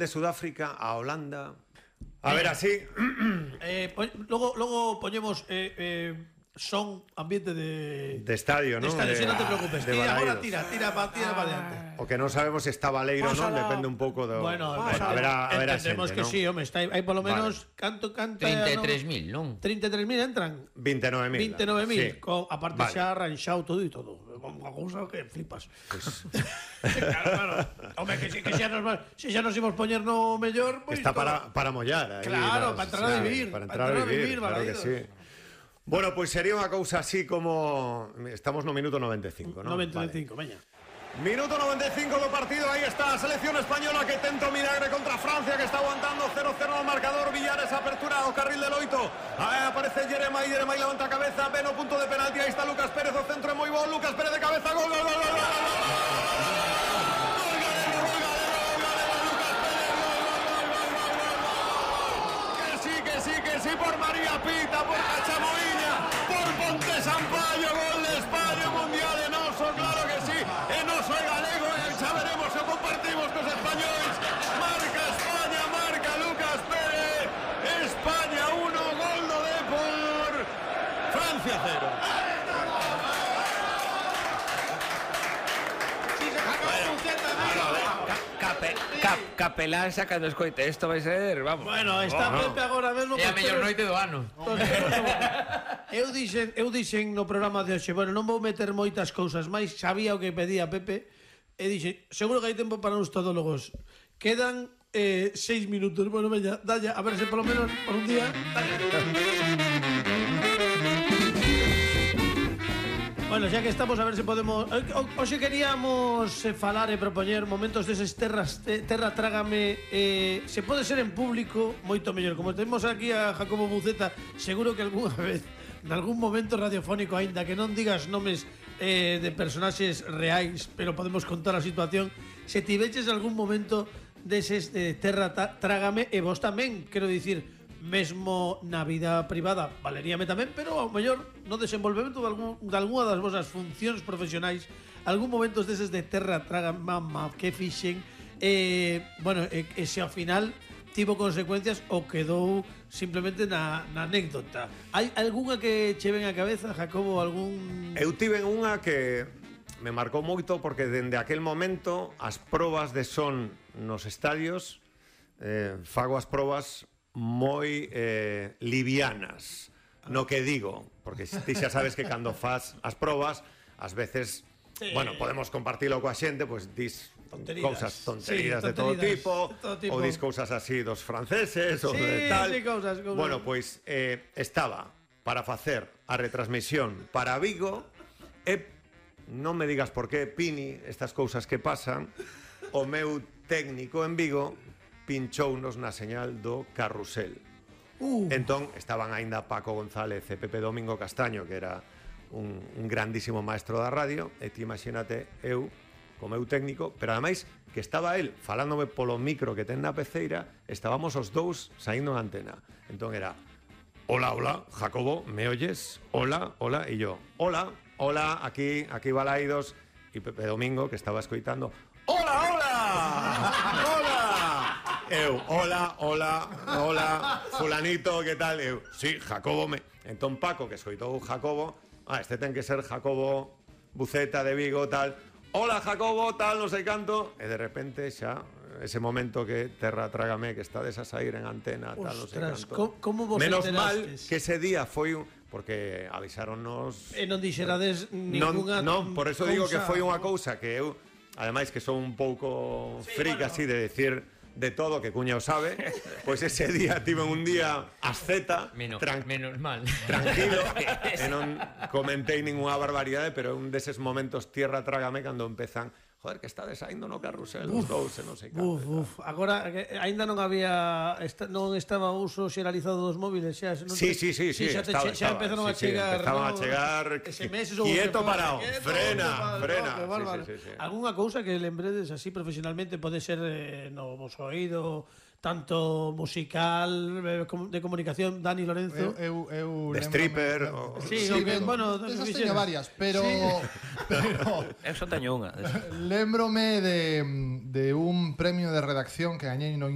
de Sudáfrica a Holanda. A ver, así. Luego ponemos son ambiente de estadio, ¿no? De estadio, si no te preocupes. Ahora tira para adelante. O que no sabemos si está Baleiro, ¿no? Depende un poco de... Bueno, a ver, entendemos que ¿no? sí, hombre, hai polo menos canto 33.000, non? 33.000 entran. 29.000. 29.000, aparte xa arranxado todo e todo. Unha cousa que flipas. Claro. Hombre, que se xa nos imos poñer no mellor, pues está para mollar. Claro, para entrar a vivir. Para entrar a vivir, claro que sí. Bueno, pois sería unha cousa así como... Estamos no minuto 95, ¿no? 95, veña. Minuto 95 do partido, aí está a selección española que tenta o milagre contra Francia, que está aguantando 0-0 no marcador. Villares apertura ao carril del Oito. Aí aparece Jeremai levanta a cabeza, ven o punto de penalti, aí está Lucas Pérez, o centro é moi bo, Lucas Pérez de cabeza, gol, gol, gol, gol, gol, gol. Que sí, por María Pita, por Cachamoiña, por Ponte Sampaio, gol de España, mundial en Oso, claro que sí, en Oso e galego, xa veremos se compartimos cos españoles. Marca España, marca Lucas Pérez, España 1, gol do Depor, Francia 0. Capelán sacando escoite, isto vai ser, vamos. Bueno, está Pepe agora mesmo. É a mellor noite do ano. Eu dixen no programa de hoxe, bueno, non vou meter moitas cousas máis, sabía o que pedía Pepe, e dixen, seguro que hai tempo para uns todólogos. Quedan 6 minutos, bueno, veña, dalla, a ver se polo menos por un día. Bueno, xa que estamos, a ver se podemos... Hoxe queríamos falar e propoñer momentos deses terra trágame. Se pode ser en público, moito mellor. Como temos aquí a Jacobo Buceta, seguro que algunha vez, nalgún momento radiofónico, aínda que non digas nomes de personaxes reais, pero podemos contar a situación, se tiveches algún momento deses de terra trágame, e vos tamén, quero dicir... mesmo na vida privada valeríame tamén, pero ao mellor no desenvolvemento de algunha das vosas funcións profesionais, algún momentos deses de terra traga mamá que fixen bueno, e se ao final tivo consecuencias ou quedou simplemente na anécdota. Hai algunha que che ven a cabeza, Jacobo? Eu tive unha que me marcou moito porque dende aquel momento as probas de son nos estadios fago as probas moi livianas no que digo, porque ti xa sabes que cando faz as probas ás veces, bueno, podemos compartilo coa xente, pois dis tonterías de todo tipo, ou dis cousas así dos franceses ou de tal. Cousas. Bueno, pois estaba para facer a retransmisión para Vigo e non me digas por qué, Pini, estas cousas que pasan, o meu técnico en Vigo pinchounos na señal do carrusel. Entón, estaban aínda Paco González e Pepe Domingo Castaño, que era un grandísimo maestro da radio, e ti imagínate eu, como meu técnico, pero ademais que estaba el falándome polo micro que ten na peceira, estábamos os dous saindo na antena. Entón era, hola, Jacobo, me oyes? Hola, e yo, hola, aquí Balaidos, e Pepe Domingo, que estaba escoitando, hola! Eu, hola, fulanito, que tal? Eu, sí, Jacobo Entón Paco, que escoitou Jacobo, este ten que ser Jacobo Buceta de Vigo, tal. Hola, Jacobo, tal, non sei canto. E de repente xa, ese momento que terra trágame, que estades a sair en antena, tal, non sei canto. Como vos menos enterastes? Mal que ese día foi porque avisáronnos... E non dixerades ninguna Non, por eso digo que foi unha cousa que eu, ademais que son un pouco freak así de decir de todo, que cuña o sabe, pois ese día tive un día asceta, menos mal, tranquilo, e non comentei ninguna barbaridade, pero un deses momentos tierra trágame cando empezan, joder, que está saindo no carrusel os dous, non sei canto. Agora, aínda non había non estaba o uso xeralizado dos móviles, xa Sí, xa empezaron a chegar, empezaban a chegar quieto parado, frena. Algunha cousa que lembredes así profesionalmente, pode ser no vos oído, tanto musical, de comunicación, Dani Lorenzo. De stripper. Sí, bueno, desas teño varias, pero Eu só teño unha. lémbrome de un premio de redacción que gañei no